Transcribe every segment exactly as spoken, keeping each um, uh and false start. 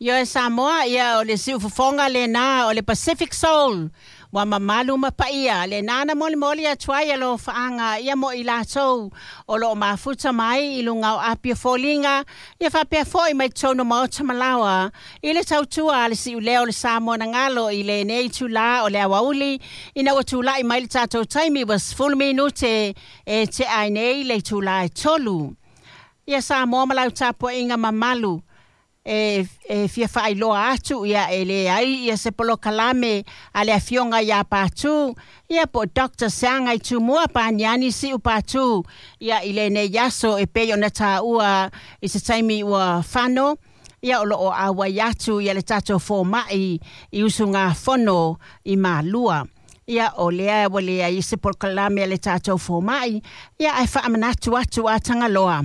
Ioe Samoa, ia o le siufofoga lena o le Pacific Soul ua mamalu ma paia lena na molimoli atu ai alofaaga ia mo i latou o loo mafuta mai i luga o api o foliga ia faapea foʻi mai totonu maota malaoa i le tautua a le siuleo o le Samoa na galo i lenei itulā o le aoauli ina ua tulaʻi mai le tatou taimi ua sefulu minute e tea ai nei le itulā e tolu. Ia Samoa ma lau tapuaʻiga mamalu e, e fia faailoa atu ia e leai ia se polokalame a le afioga iā Patu ia po Doctor Seaga i Tumua Paniani Siu Patu ia i lenei aso e pei ona taua i se taimi ua fano ia o loo auai atu ia le tatou fomaʻi i usugafono i Malua. Ia o lea ua leai se polokalame a le tatou fomaʻi ia ae faamanatu atu a Tagaloa.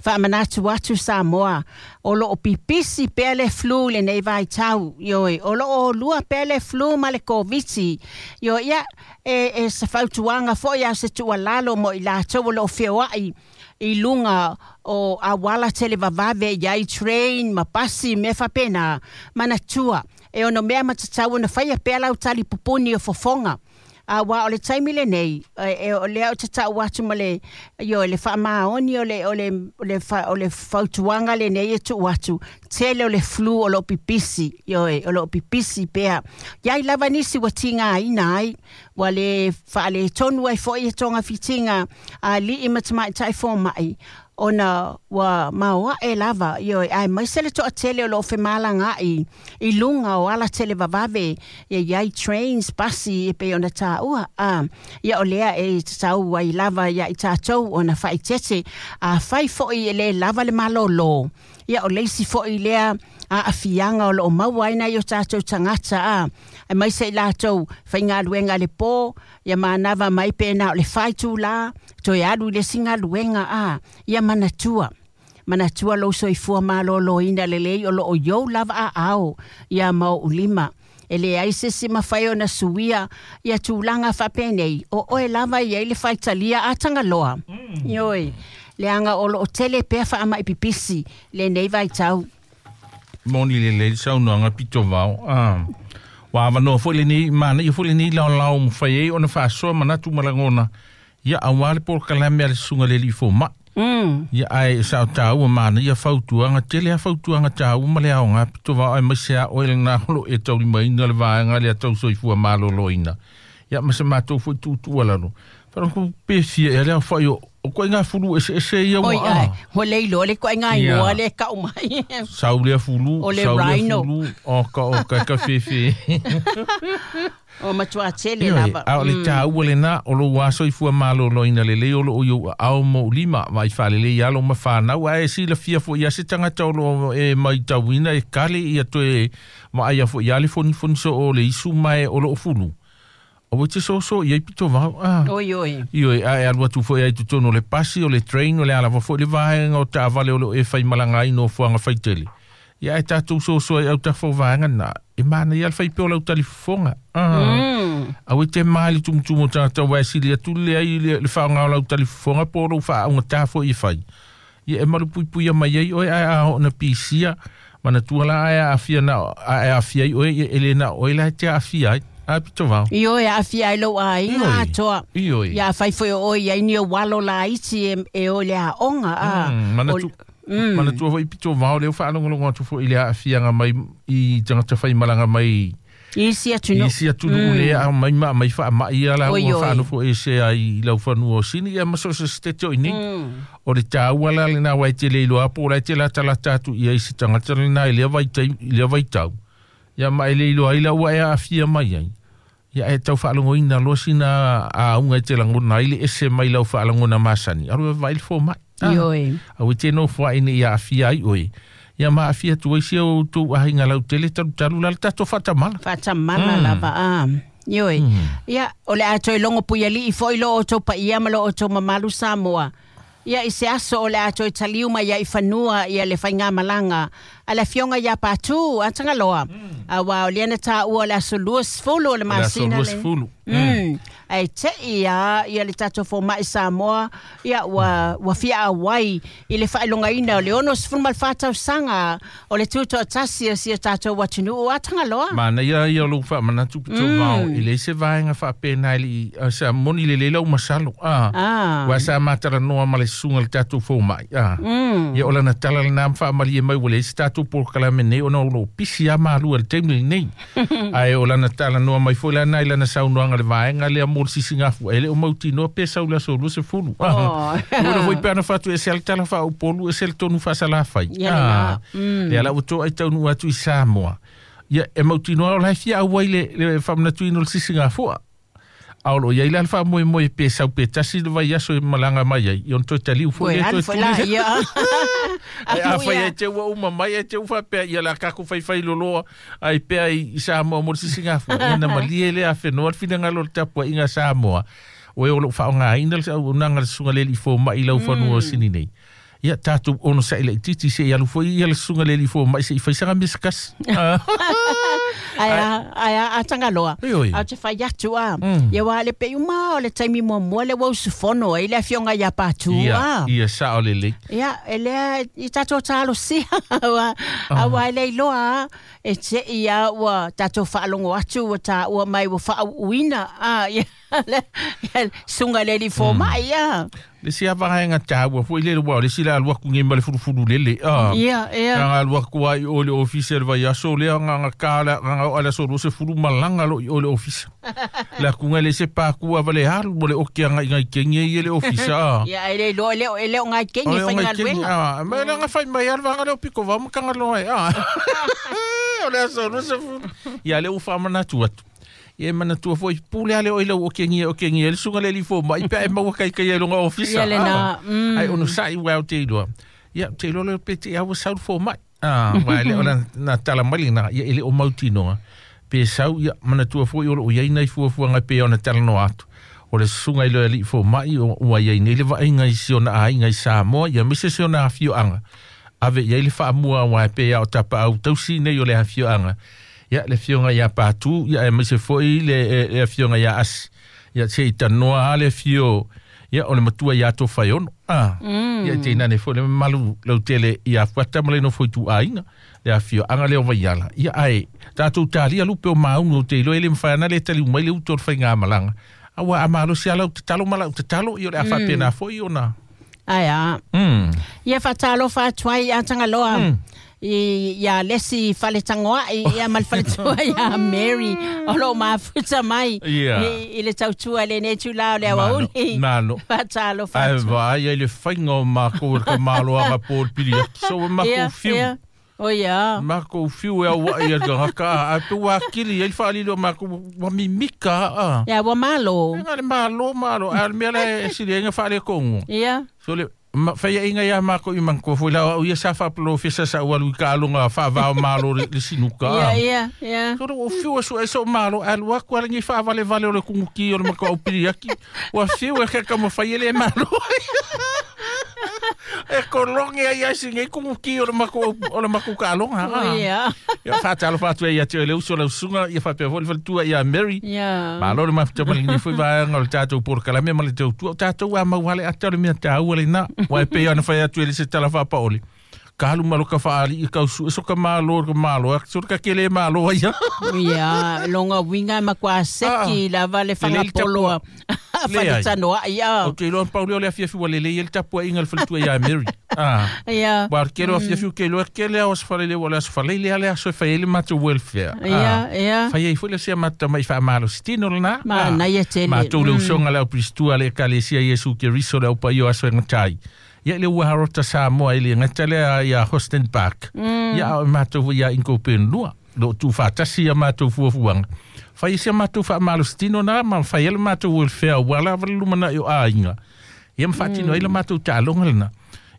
Faamanatu atu Samoa o loo pipisi pea le flu lenei vaitau ioe o loo lua pea le flu ma le Koviti ioe ia e, e se fautuaga foʻi a se tuualalo mo i latou o loo feoaʻi i luga o auala televavave iai train ma pasi mea faapena manatua e ono mea matatau ona faia pea lau tali pupuni o fofoga auā o le taimi lenei e, e o lea o tatau atu ma le io le faamaoni o le o le o le fa, o le fautuaga lenei e tuu atu tele o le flu o loo pipisi ioe o loo pipisi pea iai lava nisi ua tigaina ai ua le faaletonu ai foʻi e togafitiga a alii ma tamaʻitaʻi fomaʻi ona ua maoaʻe lava ioe aemaise le toʻatele o loo femalagaʻi i luga o ala televavave ia iai trains pasi e pei ona taua a ia o lea e tatau ai lava ia i tatou ona faaeteete afai foʻi e lē lava le malōlō ia o le isi foʻi lea aafiaga o loo maua ai nai o tatou tagata a aemaise i latou faigaluega le pō ia manava mai pena o le faitulā toe alu i le isi galuega a ia manatua manatua lou soifua malōlōina lelei o loo iou lava aao ia ma oʻu lima e leai se isi mafai ona suia ia tulaga faapenei o oe lava iai le faitalia a Tagaloa mm. ioe leaga o loo tele pea faamaʻi pipisi lenei vaitau. Moni lelei le saunoaga pitovao a ua avanoa foʻi lenei manaia foʻi lenei laolao mafai ai ona faasoa manatu ma lagona ia auā le polokalame a le susuga le alii fomaʻi mm. ia ae sao tāua manaia fautuaga tele a fautuaga tāua ma le aoga pitovao aemaise a oe lenā o loo e taulimaina le vaega lea tau soifua malōlōina ia ma se matou foʻi tuutuu alalo faalogo pe fia ea le aofaʻi o o koʻiga fulu eseese ia oi ua ai ua le iloa le koʻiga Ia. igoa le kau mai sau lea fulu O le sau lea rhino. fulu o ka o ka ka fefe o matuā tele Ioe, lava a o le tāua lenā o lou soifua malōlōina lelei o loo i ou aao ma ou lima vaai faalelei alo ma fanau ae silafia foʻi ia se tagata o loo e maitauina e kale ia toe vaaia foʻi ia le fonifoni soo o le isu ma e o loo fulu o ua te soso i ai pitovao a oi oi ioe ae alu atu foʻi ai totonu o le pasi o le train o le a lava foʻi le vaega o taavale o loo e faimalaga ai nofoaga faitele ia ae tatou soso ai autafa o vaega na e manaia le faipea o lau talifofoga ah. mm. Aue te ma le tumutumu o tagata ua e sili atu le ai le, le faaaoga o lau talifofoga po o lou faaaogatā foʻi e fai ia e malupuipuia mai ai oe ae a oo na pisia manatua la ae aafia na ae aafia ai oe ia e lē na oe la e te aafia ai a pitovao Ioe aafia ai lou aiga Ioe. atoa Ioe. ia fai foi o oe iai ni o walo laiti e, e o le aoga a Mm, manatu Mm. manatua foʻi pitovao lea ua faalogologo atu foʻi le aafiaga mai i tagata faimalaga mai isi atunuu isi atunuu mm. lea aumai ma aumai faamaʻi ia la Oi, ua oi. faanofo ese ai i lau fanua o sini ia ma so se setete o i nei Mm. o le tāua la lenā ua e te le iloa po o la e te latalata atu ia i se tagata lenā i lea vaitai i lea vaitau ia ma e le iloa ai la ua e aafia mai ai ia e tau faalogoina loa sina auga e te lagona ai le ese mai lau faalagona masani alu e vaai le fomaʻi Ah. Ioe. Aue te nofo ai nei aafia ai oe ia ma aafia atu ai sia outou aiga lautele talutalu la le tatou faatamala Faatamala Mm. lava a ioe ia o le a toe logo puialii foʻi lo outou paia ma lo outou mamalu Samoa ia i se aso o le a toe taliu mai ai i fanua ia le faigamalaga a le afioga ia Patu a Tagaloa. Auā o lea na tāua o le aso lua sefulu o le masina le mm. Ae te'i a ia le tatou foma'i Samoa ia ua, ua fia auai i le faailogaina o le ono sefulu ma le fa tausaga o le tutoatasi o si o tatou atunuu a Tagaloa. Manaia ia o lou faamanatu pitovao mm. I le se vaega faapena i sa moni lelei lau masalo a ah. Ua sa matalanoa ma le susuga le tatou foma'i a mm. Ia o lana tala lenā ma faamalie mai ua leai se tatou polokalame nei ona o loo pisi a malua le taimi lenei ae o lana talanoa mai foi lana i lana saunoaga le vaega lea mo le sisigafu e le o mautinoa pe sau le aso lua sefulu ua foi pe ana fatu e se le tala faaupolu e se le tonu faasalafai lea la ua toai taunuu atu i Samoa ia e mautinoa o lae fia auai le, le faamanatuina o le sisigafua a o loo iai la le faamoemoe pe sau pe tasi le vaiaso e malaga mai ai i ona toe taliu foi le toe tuli ai a fai ai te ua uma mai ai te ua faapea ia la kakou faifai loloa ai pea i Samoa mo le sisigafua ia na malie le afenoa le finagalo o le tapuaiga Samoa o e o loo faaaogāina le auaunaga le susuga le alii fomaʻi laufanua o sini nei ia tatou ono saʻi laʻititi seʻi alu foi ia le susuga le alii fomaʻi seʻi faisaga mea se kasi ai ai a Tagaloa a te fai atu a ia ua le pe uma o le taimi muamua le ua usufono ai le afioga ia Patu a ia sao lelei ia e lea i tatou talosia ua aua e le iloa e teʻi a ua tatou faalogo atu ua tāua mai ua faauuina a ia suga le alii fomaʻi a le sia vaega tāua foi le ua le sila alu aku ngai ma le fulufulu lele a ia ia nga alu aku ai o le ofisa le vaiaso lea nga nga kala nga o ala so se fulu malanga lo o le ofisa la ku ngai le se pa ku ava le alu mo le oki anga ngai kengi i le ofisa ia e le lo le e le ngai kengi fai galuega a me la nga fai mai al vanga le piko va mo kanga lo ai a o le aso lo se fulu ia le ufa manatu atu ia manatua foi pule ale o lau o kengi o kengi le suga le lifo mai pe e maua kai kai longa ofisa ia le na ai ono sai wa te iloa ia te iloa le pe te au sau fo mai ah wa le ona na tala mai na ia ele o mautinoa pe sau ia manatua foi o lo ia nei fuafuaga pe ona talanoa atu o le susuga i le alii fomaʻi ua iai nei le vaaiga i si ona aiga i Samoa ia aemaise si ona afioaga ave iai le faamua uae pe ia o tapaau tausi nei o le afioaga ia le afioga ia Patu ia aemaise foi le, le afioga ia Asi ia se i tanoa a le afio ia o le matua ia Tofaeono ah mm. Ia teinane foi le mamalu lautele ia Fuata ma le nofo i tuaiga le afioaga lea o Vaiala ia ae tatou talia lupe o mauga o te iloa e le mafai ana le taliu mai le utu o le faigamalaga aua a malosi a lau tatalo ma lau tatalo ia o le a faapena foi ona ai a mm. Ia faatalofa atu ai a Tagaloa mm. I ia lesi faletangoaʻi ia ma le faletua ia Mary o loo mafuta mai yeah. i, i le tautua lenei tulā o le auauli Malo faatalofa ai atu vaai ai le faiga o makou le kamaloaga po le pili atu so makou ia fiu ia o ia makou fiu e auaʻi a le gagaka a pe ua akili ai le faalili o makou ua mimika a ia ua malo ga le malo malo a le mea la e siliaiga faalekogo ia so le ma faiaʻiga ia makou i manako foi la au ia sa faapolofesa sa ua alu i kaaloga faavao malo le, le sinuka ia ia ia so o fiu e suʻe so malo alu aku ala nei faavalevale o le kuguki o le makou aupili aki ua fiu e kekamafai e le malo e kologi ai ai sinei kuguki o le makou o le makou kaaloga o ia ia faatalofa atu ai ia te oe le uso lau susuga ia faapea foi le faletua ia Mary ia malo le mafuta maligi foi vaega o le tatou polokalame ma le tautua o tatou a mau ale ata o le mea tāua lenā ua e pei ona fai atu e le se tala faapaole ka alu ma loka faalii kausu e so ka malo ka malo so ka kele malo ai ia longa winga ma kwa seki lava le fagapoloa faletanoaʻi ia o te iloa pauli o le afiafi ua lelei ai le tapuaiga le faletua ia Mary ah ia ua kele o afiafi ke iloa kele ao aso falele ua le aso falele ale aso e fai ai le matou welfare ia ia fai ai foi le sia matamai faamalositino lenā manaia tele matou le usoga le aupilistua le ekalesia Iesu Keriso le aupaia o aso e gatai ia le ua harota Samoa i le gata lea ia Houston Park ia o matou ia inko penua lo tu faatasi ia matou fuafuaga fai sia matou faamalositino na ma fai ai le matou welfare ua lava le lumanaʻi o aiga ia ma faatino ai le matou taaloga lena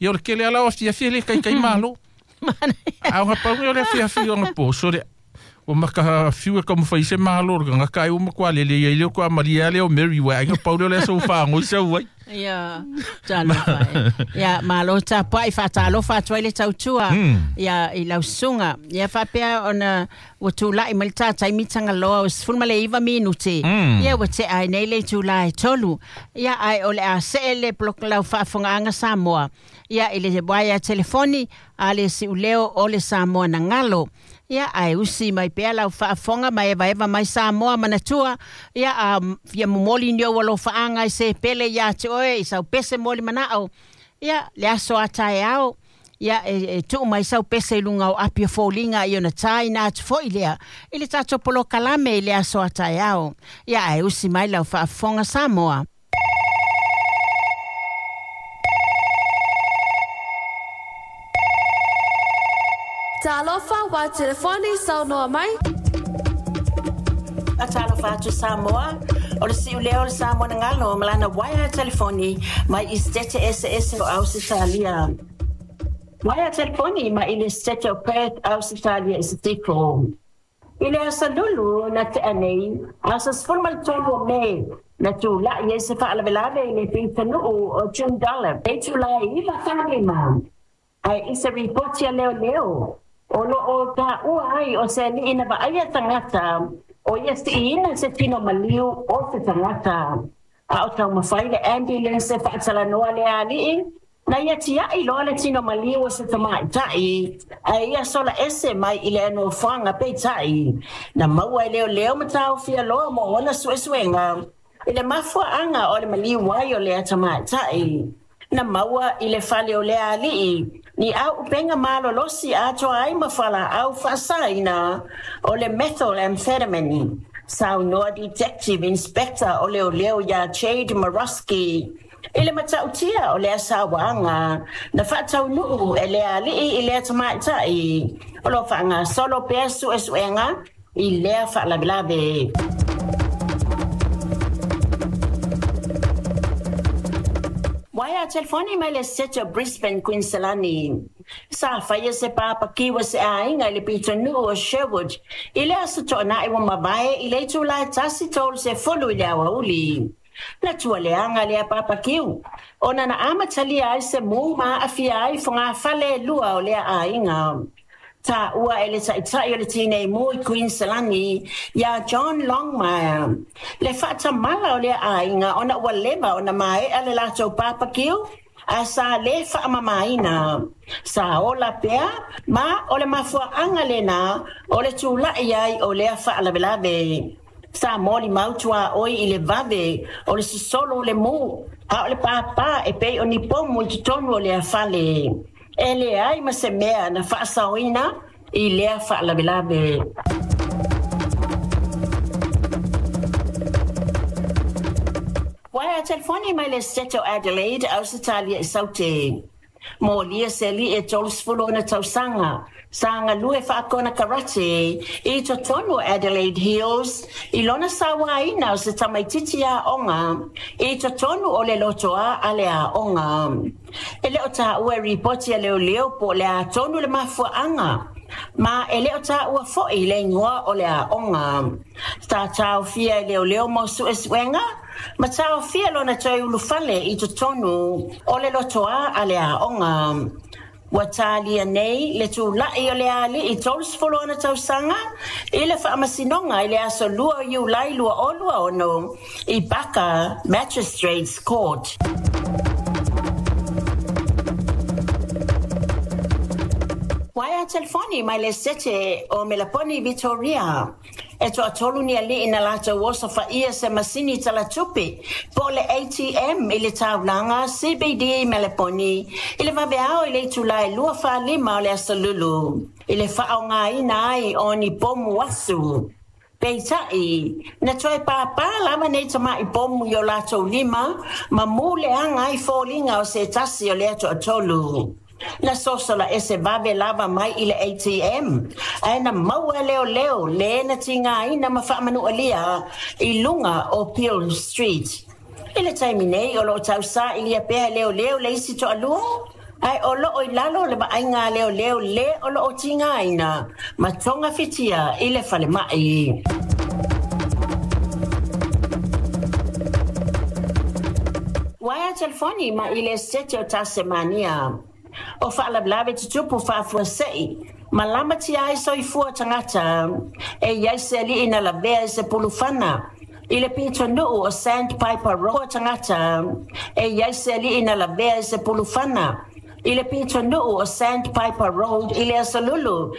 ia o le kele ala o afiafi e le kaikai malo a o gapauga o le afiafi o gapo so le ua maka fiu e kamafai se malo le gagaka ai ua makuā lelei ai lea kua malia lea o Mary ua aiga pauli o le aso ua faagoi sau ai Ia, talofa e. Ia, malo tapuai faatalofa atu ai le tautua. Ia, i lau susuga. Ia faapea ona ua tula'i mai le tataimi tagaloa o sefulu ma le iva minute. Ia ua te'a ai nei le itulā e tolu. Ia ae o le a se'e le lau faafogaaga Samoa. Ia i le waea telefoni a le si'uleo o le Samoa na galo. Ia ae usi mai pea lau faafofoga ma evaeva mai Samoa manatua. Ia a fia momoli ni ou alofaaga i se pele iā te oe i sau pese moli mana'o. Ia le aso a taeao. Ia e, e tuu mai sau pese i luga o api o foliga i ona tāina atu fo'i lea i le tatou polokalame i le aso a taeao. Ia ae usi mai lau faafofoga Samoa. Talofa wa telefoni saunoa mai. Talofa atu Samoa. O le si'ulea o le Samoa na galo ma lana waea telefoni mai i setete eseese o Ausetalia. Waea telefoni mai i le setete o Perth, Ausetalia i Sitiko. I le aso lulu na tea nei, aso sefulu ma le tolu o Me, na tula'i ai se faalavelave i le pitanu'u o Joondalup. E itulā e iva falima. Ae i se ripoti a leoleo, o lo'o ta'ua ai o se ali'i na va'aia tagata, o ia si'iina se tino maliu o se tagata. A o taumafai le ambulance e fa'atalanoa le ali'i, na ia tia'i loa le tino maliu o se tamaita'i, ae ia sola ese mai i le nofoaga peita'i. Na maua e leoleo ma taofia loa mo ona suesuega, i le mafua'aga o le maliu ai o lea tamaita'i. Na maua i le fale o le ali'i, ni au upenga malolosi atoa ai ma fala'au fa'asaina o le methamphetamine. Saunoa Detective Inspector o leoleo iā Jade Maroski i le mata'utia o lea sauaga na fa'ataunu'u e le ali'i i lea tamaita'i. O lo fa'agasolo pea su'esu'ega i lea fa'alavelave. Waea telefoni mai le sete o Brisbane, Queensland. Sa faia se papakiwa se aiga i le pitonu'u o Sherwood i le aso to'ana'i ua mavae i le itulā e tasi tolu sefulu i le aoauli. Na tualeaga lea papakiu ona na amatalia ai se mu ma a'afia ai fogafale e lua o lea aiga. Ta'ua e le ta'ita'i o le tinei mu i Queensland iā John Longmire le fa'atamala o lea aiga ona ua leva ona mae'a le latou papakiu a sa lē fa'amamāina. Sa ola pea ma o le mafua'aga lenā o le tula'i ai o lea fa'alavelave. Sa moli mautuā'oi i le vave o le sosolo o le mu a o le pāpā e pei o ni pomu i totonu o lea fale. E leai ma se mea na fa'asaoina i lea fa'alavelave. Waea telefoni mai le sete o Adelaide, Ausetalia i Saute. Molia se ali'i e tolu sefulu ona tausaga sa galue fa'akona karate i totonu o Adelaide Hills i lona sauāina o se tamaititi a'oga i totonu o le lotoā a le a'oga. E lē o tā'ua e ripoti a leoleo po o le atonu le mafua'aga ma e lē o tā'ua fo'i le igoa o le a'oga. Sa taofia e leoleo mo su'esu'ega ma taofia lona toe ulufale i totonu o le lotoā a le a'oga. Ua talia nei le tula'i o le ali'i tolu sefulu ona tausaga i le fa'amasinoga i le aso lua o Iulai lua o lua ono i Baka Magistrates Court. Waea telefoni mai le sete o Melaponi Victoria. E to'atolu ni ali'i na latou osofa'ia se masini talatupe po o le A T M i le taulaga C B D i Melaponi i le vaveao i le itulā e lua fa'alima o le asolulu i le fa'aogāina ai o ni pomu asu. Peita'i, na toe pāpā lava nei tama'i pomu i o latou lima ma mu leaga ai foliga o se tasi o lea to'atolu. Na sosola ese vave lava mai i le A T M ae na maua e leoleo lē na tigāina ma fa'amanu'alia i luga o Peel Street. I le taimi nei o lo'o tausa'ilia pea e leoleo le isi to'alua ae o lo'o i lalo le va'aiga a leoleo lē o lo'o tigāina ma togafitia i le falema'i. Waea Telefoni ma i le Esiteti o Tasemania. O faalavelave tutupu faafuasei ma lamatia ai soifua tagata e i ai se alii na lavea i se pulufana i le pitonuu o Sandpiper Road tagata e i ai se alii na lavea i se pulufana i le pitonuu o Sandpiper Road i le aso Lulu.